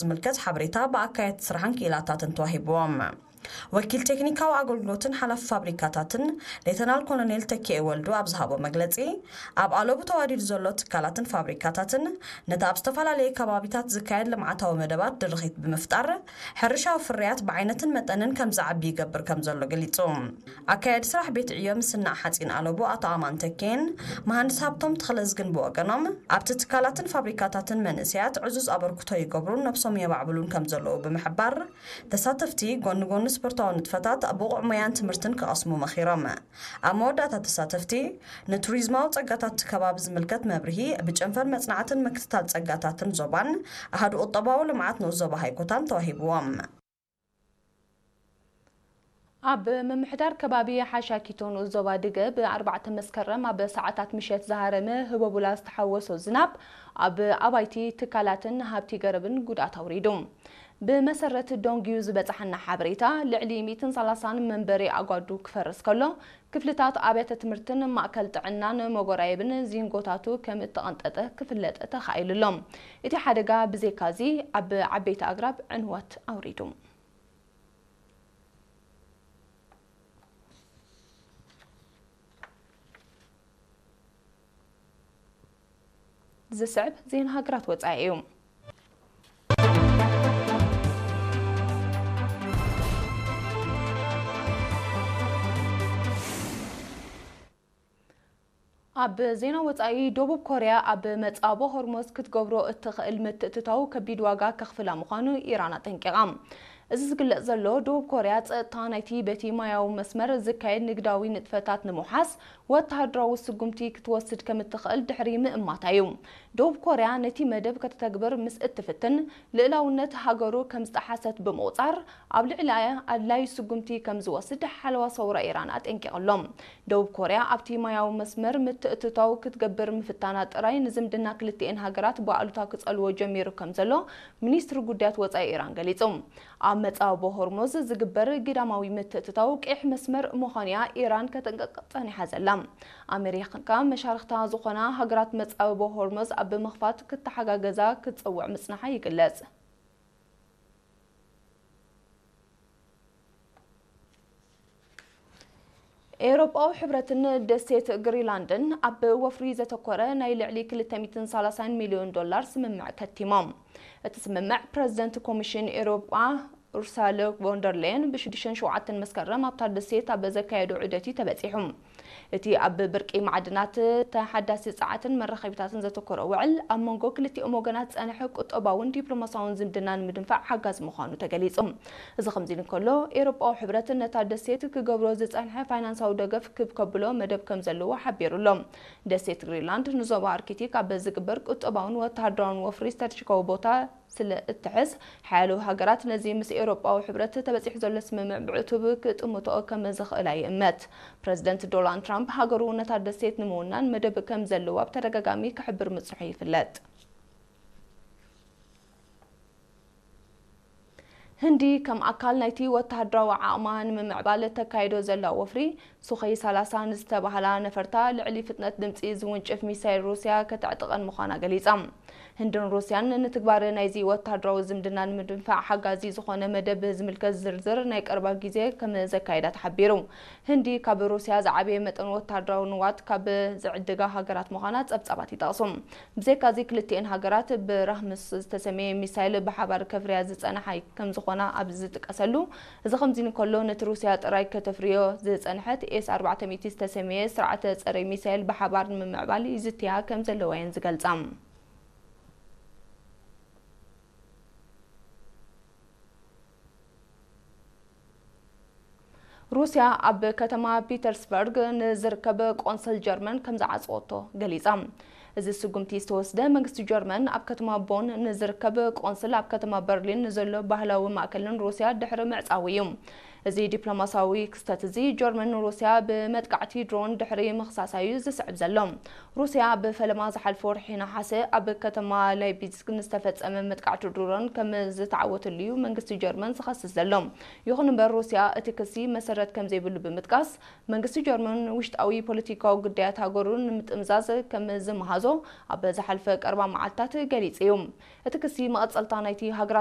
ዝምልከት ሓበሬታ ብኣካየድቲ ስራሕን ክኢላታትን ተዋሂብዎም። ወኪል ቴክኒካዊ ኣገልግሎትን ሓላፊ ፋብሪካታትን ሌተናል ኮሎኔል ተኪኤ ወልዱ ኣብ ዝሃቦ መግለጺ፣ ኣብ ኣለቡ ተዋዲዱ ዘሎ ትካላትን ፋብሪካታትን ነቲ ኣብ ዝተፈላለየ ከባቢታት ዝካየድ ልምዓታዊ መደባት ድርኺት ብምፍጣር፣ ሕርሻዊ ፍርያት ብዓይነትን መጠንን ከም ዝዓቢ ይገብር ከም ዘሎ ገሊጹ። ኣካያዲ ስራሕ ቤት ዕዮ ምስናዕ ሓጺን ኣለቡ ኣቶ ኣማን ተኬን መሃንድስ ሃብቶም ተኽለዝግን ብወገኖም፣ ኣብቲ ትካላትን ፋብሪካታትን መንእሰያት ዕዙዝ ኣበርክቶ ይገብሩን ነብሶም የማዕብሉን ከም ዘለዉ ብምሕባር፣ ተሳተፍቲ ጎኒ ጎኒ ስፖርታዊ ንጥፈታት ብቑዕ ሞያን ትምህርትን ክቐስሙ መኺሮም። ኣብ መወዳእታ ተሳተፍቲ ንቱሪዝማዊ ጸጋታት እቲ ከባቢ ዝምልከት መብርሂ ብጨንፈር መጽናዕትን ምክትታል ጸጋታትን ዞባን ኣሃዱ ቁጠባዊ ልምዓት ንኡስ ዞባ ሃይኮታን ተዋሂብዎም። ኣብ ምምሕዳር ከባቢ ሓሻኪቶ ንኡስ ዞባ ድገ ብ ኣርባዕተ መስከረም ኣብ ሰዓታት ምሸት ዝሃረመ ህቦቡላ ዝተሓወሶ ዝናብ ኣብ ኣባይቲ ትካላትን ሃብቲ ገረብን ጉድኣት ኣውሪዱ። ብመሰረት ዶንግዩ ዝበጽሓና ሓበሬታ፣ ልዕሊ ሚእትን ሰላሳን መንበሪ ኣጓዱ ክፈርስ ከሎ፣ ክፍልታት ኣብያተ ትምህርትን ማእከል ጥዕናን መጎራየብን ዚንጎታቱ ከም እተቐንጠጠ ክፍለጥ ተኻኢሉ ኣሎ። እቲ ሓደጋ ብዘይካዚ ኣብ ዓበይቲ ኣግራብ ዕንወት ኣውሪዱ። ዝስዕብ ዜና ሃገራት ወጻኢ እዩ። ኣብ ዜና ወጻኢ፣ ደቡብ ኮርያ ኣብ መጻቦ ሆርሞዝ ክትገብሮ እትኽእል ምትእትታው ከቢድ ዋጋ ከኽፍላ ምዃኑ ኢራን ኣጠንቂቓ። እዚ ዝግለጽ ዘሎ፣ ደቡብ ኮርያ ጸጥታ ናይቲ በቲ ማያዊ መስመር ዝካየድ ንግዳዊ ንጥፈታት ንምውሓስ ወተሃደራዊ ስጉምቲ ክትወስድ ከም እትኽእል ድሕሪ ምእማታ እዩ። ደቡብ ኮርያ ነቲ መደብ ከተተግብር ምስ እትፍትን፣ ልእላውነት ሃገሩ ከም ዝጠሓሰት ብምቑጻር፣ ኣብ ልዕሊኣ ኣድላዪ ስጉምቲ ከም ዝወስድ ሓለዋ ሰውራ ኢራን ኣጠንቂቑ ኣሎ። ደቡብ ኮርያ ኣብቲ ማያዊ መስመር ምትእትታው ክትገብር ምፍታና ጥራይ ንዝምድና ክልቲኤን ሃገራት ብኣሉታ ክጸልዎ ጀሚሩ ከም ዘሎ ሚኒስትሪ ጉዳያት ወጻኢ ኢራን ገሊጹ። ኣብ መጻብቦ ሆርሙዝ ዝግበር ግዳማዊ ምትእትታው ቀይሕ መስመር ምዃኑ'ያ ኢራን ከተንቀቕ ጸኒሓ ዘላ። ኣሜሪካ መሻርኽታ ዝኾና ሃገራት መጻብቦ ሆርሙዝ ኣብ ምኽፋት ክተሓጋገዛ ክትጸውዕ ምጽናሓ ይግለጽ። ኤውሮጳዊ ሕብረትን ደሴት ግሪንላንድን ኣብ ወፍሪ ዘተኮረ ናይ ልዕሊ ክልተ ሚእትን ሰላሳን ሚልዮን ዶላር ስምምዕ ከቲሞም። እቲ ስምምዕ ፕረዚደንት ኮሚሽን ኤውሮጳ ኡርሳለ ቮንደርሌየን ብሽዱሽተን ሸውዓተን መስከረም ኣብታ ደሴት ኣብ ዘካየዶ ዑደት እዩ ተበጺሑ። እቲ ኣብ ብርቂ ማዕድናት፣ ተሓዳሲ ጸዓትን መራኸቢታትን ዘተኮረ ውዕል፣ ኣብ መንጎ ክልቲኦም ወገናት ዝጸንሐ ቁጠባውን ዲፕሎማስያውን ዝምድና ንምድንፋዕ ሓጋዚ ምዃኑ ተገሊጹ። እዚ ከምዚ ኢሉ እንከሎ፣ ኤውሮጳዊ ሕብረት ነታ ደሴት ክገብሮ ዝጸንሐ ፋይናንሳዊ ደገፍ ክብ ከብሎ መደብ ከም ዘለዎ ሓቢሩ ኣሎ። ደሴት ግሪንላንድ ንዞባ ኣርክቲክ ኣብ ዝግበር ቁጠባውን ወተሃደራውን ወፍሪ ስትራተጂካዊ ቦታ ስለ እትሕዝ፣ ሓያሎ ሃገራት ነዚ ምስ ኤውሮጳዊ ሕብረት ተበጺሑ ዘሎ ስምምዕ ብዕቱብ ክጥምትኦ ከም ዝኽእላ ይእመት። ፕረዚደንት ዶናልድ ትራምፕ ሃገሩ ነታ ደሴት ንምውናን መደብ ከም ዘለዋ ብተደጋጋሚ ክሕብር ምጽንሑ ይፍለጥ። ህንዲ ከም ኣካል ናይቲ ወተሃደራዊ ዓቕማ ንምምዕባል እተካይዶ ዘላ ወፍሪ፣ ሱኸይ ሰላሳ ንዝተባህላ ነፈርታ ልዕሊ ፍጥነት ድምጺ ዝውንጭፍ ሚሳይል ሩስያ ከተዕጥቐን ምዃና ገሊጻ። ህንድን ሩስያን ንትግባረ ናይዚ ወተሃደራዊ ዝምድና ንምድንፋዕ ሓጋዚ ዝኾነ መደብ ዝምልከት ዝርዝር ናይ ቀረባ ግዜ ከም ዘካየዳ ተሓቢሩ። ህንዲ ካብ ሩስያ ዝዓበየ መጠን ወተሃደራዊ ንዋት ካብ ዝዕድጋ ሃገራት ምዃና ጸብጻባት ይጠቕሱ። ብዘይካዚ፣ ክልቲኤን ሃገራት ብራህምስ ዝተሰመየ ሚሳይል ብሓባር ከፍርያ ዝጸንሓ ከም ዝኾና ኣብ ዝጥቀሰሉ፣ እዚ ከምዚ እንከሎ፣ ነቲ ሩስያ ጥራይ ከተፍርዮ ዝጸንሐት ኤስ ኣርባዕተ ሚእቲ ዝተሰመየ ስርዓተ ጸረ ሚሳይል ብሓባር ንምምዕባል ይዝትያ ከም ዘለዋ እየን ዝገልጻ። ሩስያ ኣብ ከተማ ፒተርስበርግ ንዝርከብ ቆንስል ጀርመን ከም ዝዓጸወቶ ገሊጻ። እዚ ስጉምቲ ዝተወስደ፣ መንግስቲ ጀርመን ኣብ ከተማ ቦን ንዝርከብ ቆንስል ኣብ ከተማ በርሊን ንዘሎ ባህላዊ ማእከልን ሩስያ ድሕሪ ምዕጻዉ እዩ። እዚ ዲፕሎማስያዊ ክስተት እዚ፣ ጀርመን ንሩስያ ብመጥቃዕቲ ድሮን ድሕሪ ምኽሳሳ እዩ ዝስዕብ ዘሎ። ሩስያ፣ ብፈለማ ዝሓለፈ ወርሒ ነሓሰ ኣብ ከተማ ላይፕዚግ ንዝተፈጸመ መጥቃዕቲ ድሮን ከም ዝተዓወተሉ እዩ መንግስቲ ጀርመን ዝኸስስ ዘሎ። ይኹን እምበር፣ ሩስያ እቲ ክሲ መሰረት ከም ዘይብሉ ብምጥቃስ፣ መንግስቲ ጀርመን ውሽጣዊ ፖለቲካዊ ጉዳያት ሃገሩ ንምጥምዛዝ ከም ዝመሃዞ ኣብ ዝሓለፈ ቀረባ መዓልታት ገሊጹ እዩ። እቲ ክሲ፣ መቐጸልታ ናይቲ ሃገራት